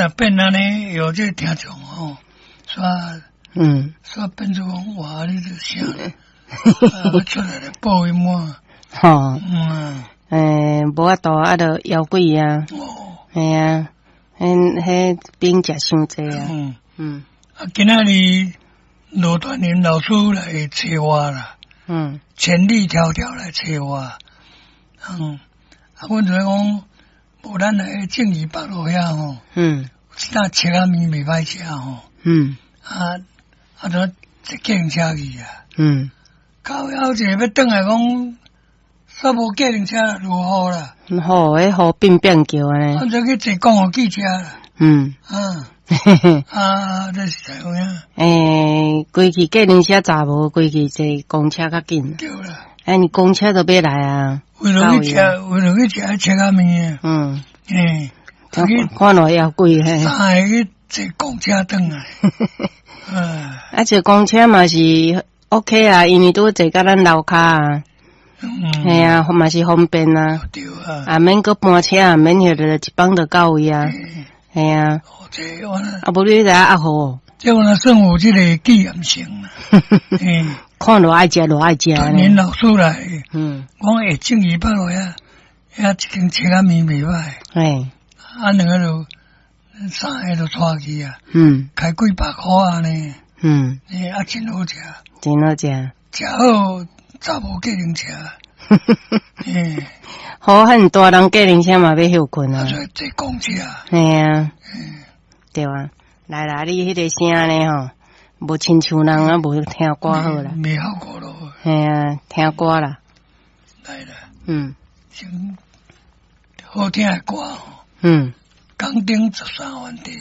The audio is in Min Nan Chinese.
若變按呢，有這個聽眾吼，煞煞變做講哇，你這啥？啊，出來來報伊滿。欸，無法度啊，就枵鬼啊。係啊，彼彼餅食傷濟啊。啊，今仔日羅傳林老師來揣我啦。千里迢迢來揣我。啊，阮就講，無咱來正義北路遐吼。那切仔麵袂歹食吼。啊啊，就坐計程車去啊。到後一個欲轉來講，煞無計程車落雨啦。好，彼雨變變叫按呢。啊，就去坐公共汽車啦。啊，這是怎樣？欸，規去計程車載無，規去坐公車較緊。對啦。欸，你公車都欲來啊？為了去食，為了去食切仔麵。欸，看落猶貴嘿。三个去坐公車轉來。啊，坐公車嘛是 OK 啊，因為拄坐甲咱樓跤啊。係啊，嘛是方便啊。對啊。啊，免閣搬車啊，免歇著一放就到位啊。係啊。啊，無你佇遐壓雨。這我算有這個紀念性啦。看偌愛食，偌愛食。傳林老師來，講會正義北路遐，遐一間切仔麵袂歹。啊，兩个就三个就帶去啊。開幾百箍按呢。欸，啊，真好食。真好食。食好，早無計程車。欸。好漢大人計程車嘛欲歇睏啊。坐坐公車。係啊。對啊，來啦，你彼個聲呢吼，無親像人啊，無聽歌好啦。袂效果咯。係啊，聽歌啦。來啦。先好聽的歌。港頂十三番地。